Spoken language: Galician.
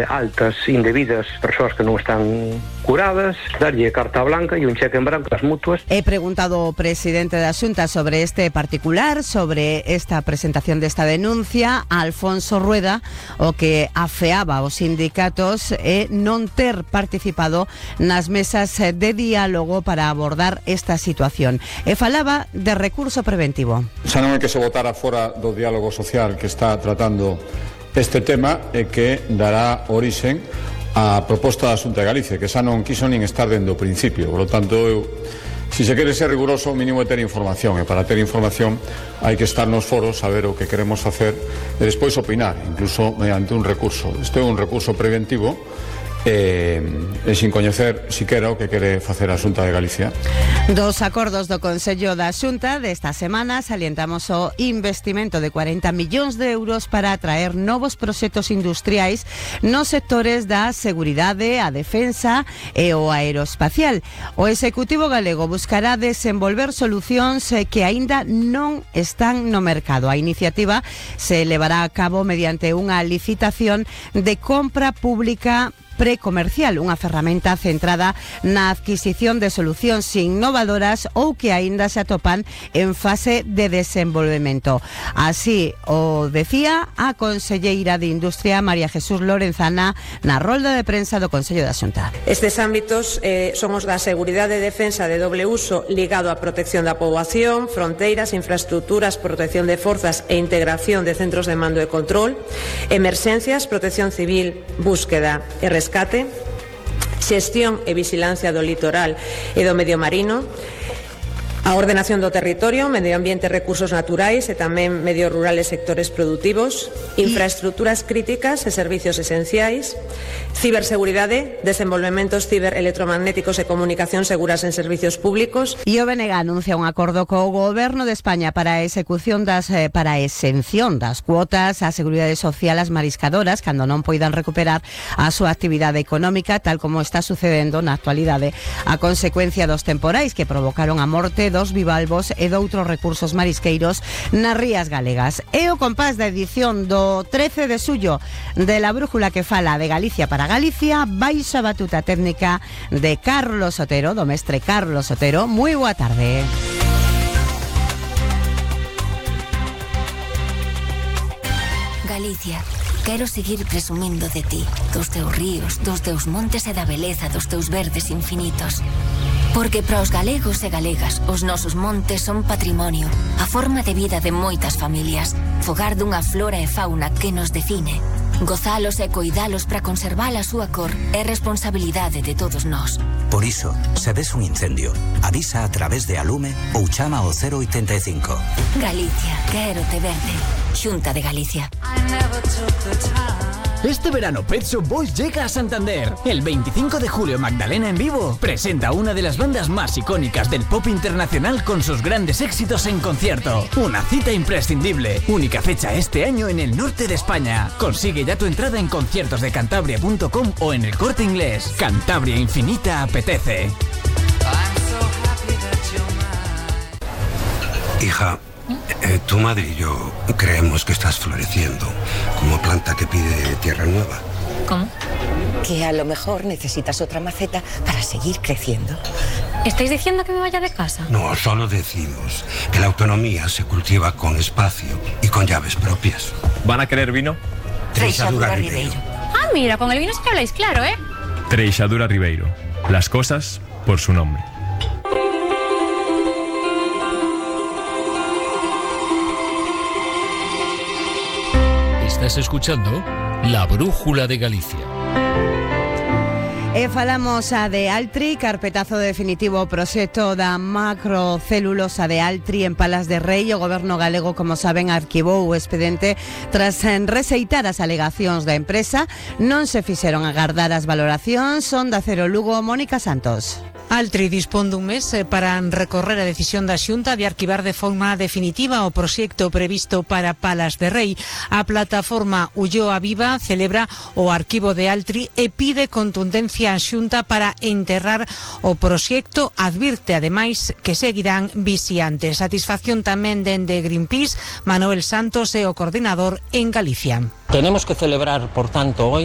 altas indebidas, persoas que non están curadas, darlle carta blanca e un cheque en branco ás mutuas. He preguntado ao presidente da Xunta sobre este particular, sobre esta presentación desta denuncia, a Alfonso Rueda, o que afeaba aos sindicatos e non ter participado nas mesas de diálogo para abordar esta situación. E falaba de recurso preventivo. Xa non é que se votara fora do diálogo social que está tratando este tema e que dará orixen á proposta da Xunta de Galicia, que xa non quiso nin estar dende o principio. Por lo tanto, se se quere ser riguroso, o mínimo é ter información, e para ter información hai que estar nos foros, saber o que queremos facer e despois opinar, incluso mediante un recurso. Este é un recurso preventivo e sin coñecer siquera o que quere facer a Xunta de Galicia. Dos acordos do Consello da Xunta desta semana salientamos o investimento de 40 millóns de euros para atraer novos proxectos industriais nos sectores da seguridade, a defensa e o aeroespacial. O Executivo galego buscará desenvolver solucións que aínda non están no mercado. A iniciativa se levará a cabo mediante unha licitación de compra pública precomercial, unha ferramenta centrada na adquisición de solucións innovadoras ou que aínda se atopan en fase de desenvolvemento. Así o decía a conselleira de Industria, María Jesús Lorenzana, na rolda de prensa do Consello da Xunta. Estes ámbitos son os da seguridade e defensa de doble uso ligado á protección da poboación, fronteiras, infraestructuras, protección de forzas e integración de centros de mando e control, emerxencias, protección civil, búsqueda e rescate, xestión e vixilancia do litoral e do medio marino, a ordenación do territorio, medio ambiente e recursos naturais e tamén medio rural e sectores produtivos, infraestructuras críticas e servicios esenciais, ciberseguridade, desenvolvementos ciberelectromagnéticos e comunicación seguras en servicios públicos. E o BNG anuncia un acordo co Goberno de España para a exención das cuotas á Seguridade Social ás mariscadoras cando non poidan recuperar a súa actividade económica, tal como está sucedendo na actualidade a consecuencia dos temporais que provocaron a morte dos bivalvos e doutros recursos marisqueiros nas rías galegas. E o compás da edición do 13 de xullo de La Brújula que fala de Galicia para Galicia, baixa batuta técnica de Carlos Otero, do mestre Carlos Otero. Moi boa tarde. Galicia, quero seguir presumindo de ti, dos teus ríos, dos teus montes e da beleza dos teus verdes infinitos. Porque para os galegos e galegas, os nosos montes son patrimonio, a forma de vida de moitas familias, fogar dunha flora e fauna que nos define. Gozalos e coidalos para conservar a súa cor é responsabilidade de todos nós. Por iso, se ves un incendio, avisa a través de Alume ou chama ao 085. Galicia, quero te verde. Xunta de Galicia. Este verano Pet Shop Boys llega a Santander. El 25 de julio Magdalena en vivo presenta una de las bandas más icónicas del pop internacional con sus grandes éxitos en concierto. Una cita imprescindible. Única fecha este año en el norte de España. Consigue ya tu entrada en conciertosdecantabria.com o en el Corte Inglés. Cantabria Infinita apetece. Hija, tu madre y yo creemos que estás floreciendo como planta que pide tierra nueva. ¿Cómo? Que a lo mejor necesitas otra maceta para seguir creciendo. ¿Estáis diciendo que me vaya de casa? No, solo decimos que la autonomía se cultiva con espacio y con llaves propias. ¿Van a querer vino? Treixadura Ribeiro. Ah, mira, con el vino sí que habláis claro, ¿eh? Treixadura Ribeiro. Las cosas por su nombre. Estás escuchando La Brújula de Galicia. E falamos a de Altri, carpetazo definitivo ao proxecto da macrocelulosa de Altri en Palas de Rei. O Goberno galego, como saben, arquivou o expediente tras rexeitar as alegacións da empresa. Non se fixeron agardar as valoracións. Onda Cero Lugo, Mónica Santos. Altri dispón dun mes para recorrer a decisión da Xunta de arquivar de forma definitiva o proxecto previsto para Palas de Rei. A plataforma Ulloa Viva celebra o arquivo de Altri e pide contundencia á Xunta para enterrar o proxecto. Advirte, ademais, que seguirán vixiantes. Satisfacción tamén dende Greenpeace. Manuel Santos é o coordinador en Galicia. Tenemos que celebrar, por tanto, hoy